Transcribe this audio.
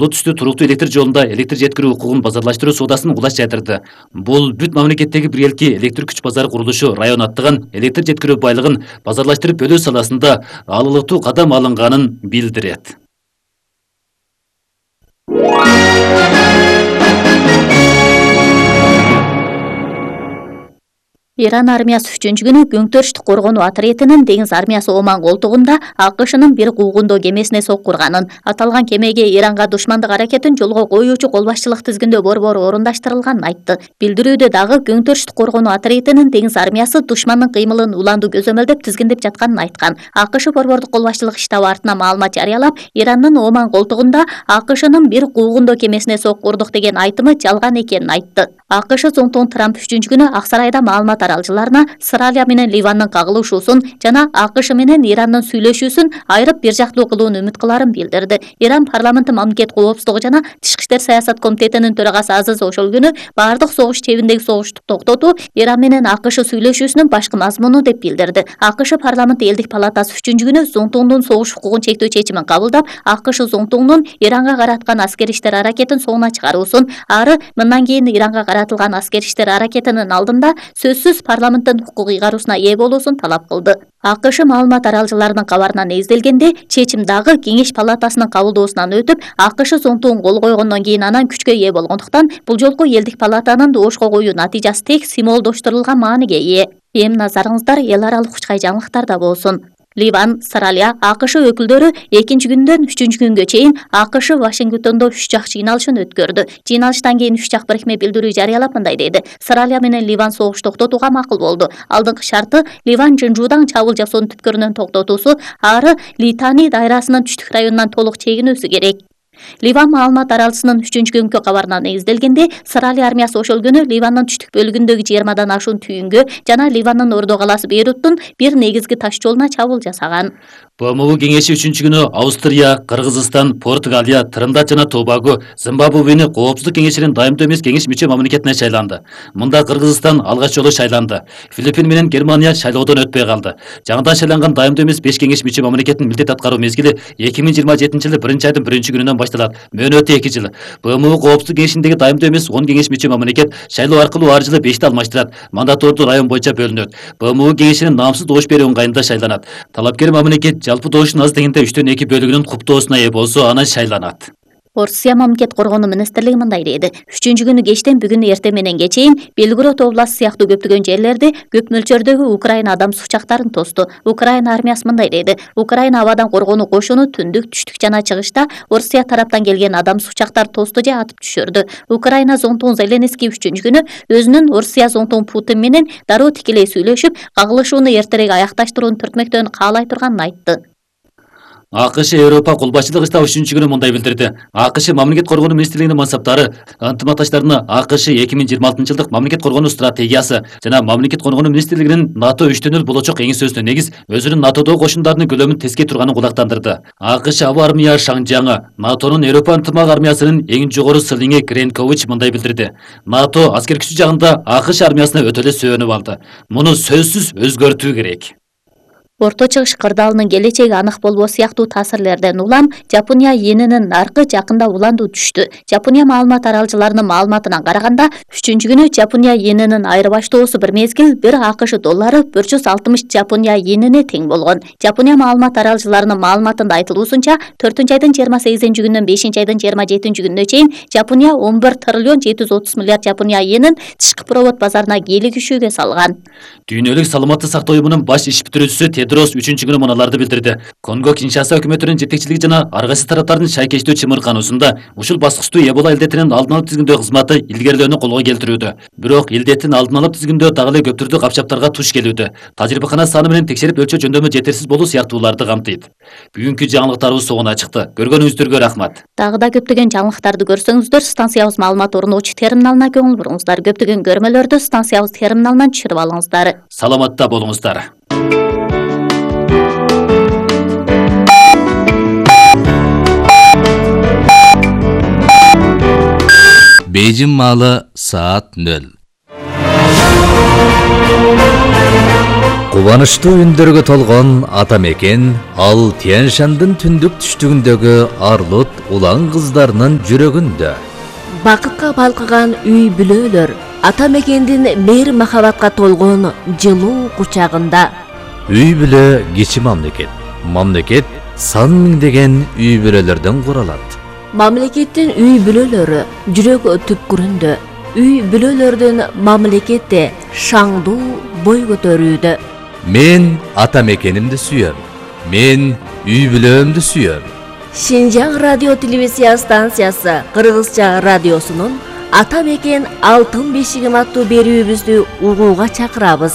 түстүү туруктуу электр жолунда электр жеткирүү укугун базарлаштыруу соодасын кулаш жайдырды. Бул бүт мамлекеттеги бир элки электр күч базары курулушу район аттыган электр жеткирүү байлыгын базарлаштырып бөлүү саласында алылыктуу кадам алынганын билдирет. Иран армиясы 3-күнү Көңтөрүштүк коргонуу отрядынын деңиз армиясы Оман колтугунда АКШнын бир куугундоо кемесине соккурганын, аталган кемеге Иранга душмандык аракетин жолго коюучу кол башчылык тизгиндөө борбору орундаштырылганын айтты. Билдирүүдө дагы Көңтөрүштүк коргонуу отрядынын деңиз армиясы душмандын кыймылын уланду көзөмөлдөп тизгиндеп жатканын айткан. АКШ борбордук кол башчылык штабы артына маалымат жарыялап, Ирандын Оман колтугунда АКШнын бир куугундоо кемесине соккурдук деген айтымы жалган экенин айтты. АКШ Зонтун Трамп 3-күнү Ак сарайда маалымат аралчыларына Сыралия менен Ливандын кагылышуусун жана АКШ менен Ирандын сүйлөшүүсүн айрып бир жактуу кылууну үмүт кыларын билдирди. Иран парламенти мамлекет коопсуздугу жана Тышкы иштер саясат комитетинин төрагасы Азиз Ошолгүнү бардык согуш чебиндеги согушту токтотуу Иран менен АКШ сүйлөшүүсүнүн башкы мазмуну деп билдирди. АКШ парламенти элдик палатасы 3-күнү Зонтундун согуш укугун чектөө чечимин кабылдап, АКШ Зонтундун Иранга караткан аскери иштер аракетин соңуна чыгаруусун, ары мындан кийин Иранга каратылган аскери иштер аракетинин алдында сөзсүз парламенттин укук ыйгаруусуна ээ болуусун талап кылды. АКШ маалымат аралчыларынын кабарына негизделгенде, чечим дагы Кеңеш палатасынын кабылдоосунан өтүп, АКШ Зонтун кол койгондон кийин анан күчкө ээ болгондуктан, бул жолку элдик палатанын доошко коюу натыйжасы тек символдоштурулган мааниге ээ. Эми назарыңыздар эл аралык учкай жаңылыктарда болсун. Ливан, Сыралия, АКШ өкүлдөрү 2-күндөн 3-күнгө чейин АКШ Вашингтондо 3 жак жыйналышын өткөрдү. Жыйналыштан кийин 3 жак бирикме билдирүү жарыялап мындай деди: Сыралия менен Ливан согуш токтотууга макул болду. Алдыңкы шарты Ливан Жынжуудан чабуул жасоонун түпкөрүнөн токтотуусу, ары Литани дайрасынын түштүк районунан толук чегинүүсү керек. Ливан маалымат аралчысынын 3-күнгө кабарына негизделгенде, Сыралия армиясы ошол-күнү Ливандын түштүк бөлүгүндөгү 20дан ашуун түйүнгө жана Ливандын ордо калаасы Бейруттун бир негизги таш жолуна чабуул жасаган. БМУ кеңеши 3-күнү Австрия, Кыргызстан, Португалия, Триндад жана Тобаго Зимбабвени Коопсуздук кеңешинин дайымдуу эмес кеңеш мүчө мамлекетине шайланды. Мында Кыргызстан алгач жолу шайланды. Филиппин менен Германия шайлоодон өтпөй калды. Жаңыдан шайланган дайымдуу эмес 5 кеңеш мүчө мамлекеттин милдет аткаруу мезгили 2027-жылы 1-айдын 1-күнүнөн башталат. Мөөнөтү 2 жыл. БМУ Коопсуздук кеңешиндеги дайымдуу эмес 10 кеңеш мүчө мамлекет шайлоо аркылуу ар жылы 5-ти алмаштырат. Мандатордуу район боюнча бөлүнөт. БМУ кеңешинин наамсыз добуш берүү ыңгайында шайланат. Талапкер мамлекет жалпы добуштун аз дегенде 3/2 бөлүгүнүн куптоосуна ээ болсо анан шайланат. Орусия мамлекет коргонуу министрлиги мындай деди: 3-күнү кечтен бүгүн эртең менен кечейин Белгород областы сыяктуу көптөгөн жерлерди көп мөлчөрдөгү Украина адамсыз учактарын тосту. Украина армиясы мындай деди: Украина абадан коргонуу кошуну түндүк, түштүк жана чыгышта Орусия тараптан келген адамсыз учактар тосту же атып түшүрдү. Украина Зонтун Зеленский 3-күнү өзүнүн Орусия Зонтун Путин менен дароо тикелей сүйлөшүп, кагылышууну эртерээк аякташтырууну түртмөктөн каалай турганын айтты. АКШ Европа кол башчылык штабы 3-күнү мындай билдирди: АКШ мамлекет коргонуу министрлигинин мансаптары ынтымакташтарына АКШ 2026-жылдык мамлекет коргонуу стратегиясы жана мамлекет коргонуу министрлигинин НАТО 3/0 болочок эңсөөсүнө негиз өзүнүн НАТОдогу кошундардын көлөмүн тескей турганын кулактандырды. АКШ аба армия шаңжаңы НАТОнун Европа ынтымак армиясынын эң жогору сылыңы Кренкович мындай билдирди: НАТО аскер күчү жагында АКШ армиясына өтө эле сүйөнүп алды. Муну сөзсүз өзгөртүү керек. Орто Чыгыш кырдаалынын келечеги анык болбоо сыяктуу таасирлерден улам Жапония йенинин наркы жакында уландуу түштү. Жапония маалымат аралчыларынын маалыматына караганда, 3-күнү Жапония йенинин айырбаштоосу бир мезгил 1 АКШ доллары 460 Жапония йенине тең болгон. Жапония маалымат аралчыларынын маалыматында айтылуусунча, 4-айдын 28-күнүнөн 5-айдын 27-күнүнө чейин Жапония 11 триллион 730 миллиард Жапония йенин тышкы провод базарына кийлигишүүгө салган. Дүйнөлүк саламаттык сактоо уюмунун баш иш бүтүрүүчүсү Тедрос 3-күнү мыналарды билдирди: Конго Киншаса өкмөтүнүн жетекчилиги жана ар кайсы тараптардын шайкештүү чымыркануусунда ушул баскычтуу Эбола илдетинин алдын алып тизгиндөө кызматы илгерилөөнү колго келтирүүдө. Бирок илдеттин алдын алып тизгиндөө дагы эле көп түрдүү капчаптарга туш келүүдө. Тажрыйбакана саны менен текшерип өлчөө жөндөмү жетерсиз болуу сыяктууларды камтыйт. Бүгүнкү жаңылыктарыбыз соңуна чыкты. Көргөнүңүздөргө рахмат. Дагы да көптөгөн жаңылыктарды көрсөңүздөр, станциябыз маалымат орнотуучу терминалына көңүл буруңуздар. Көптөгөн көрмөлөрдү станциябыз терминалынан түшүрүп алыңыздар. Саламатта болуңуздар. Бейжің маалы саат 0. Кубанычтуу үндөргө толгон ата мекен ал Тянь-Шандын түндүк түштүгүндөгү Арлут улан кыздарынын жүрөгүндө. Бакытка балкыган үй бүлөлөр ата мекендин мейир махабатка толгон жылуу кучагында. Үй бүлө кичи мамлекет. Мамлекет сан миңдеген үй бүлөлөрдөн куралат. Мамлекеттин үй бүлөлөрү жүрөк түпкүрүндө. Үй бүлөлөрдүн мамлекетте шаңдуу бой көтөрүүдө. Мен ата мекенимди сүйөм. Мен үй бүлөмдү сүйөм. Шинжаң радио телевизия станциясы Кыргызча радиосунун Ата мекен алтын бешигим аттуу берүүбүздү угууга чакырабыз.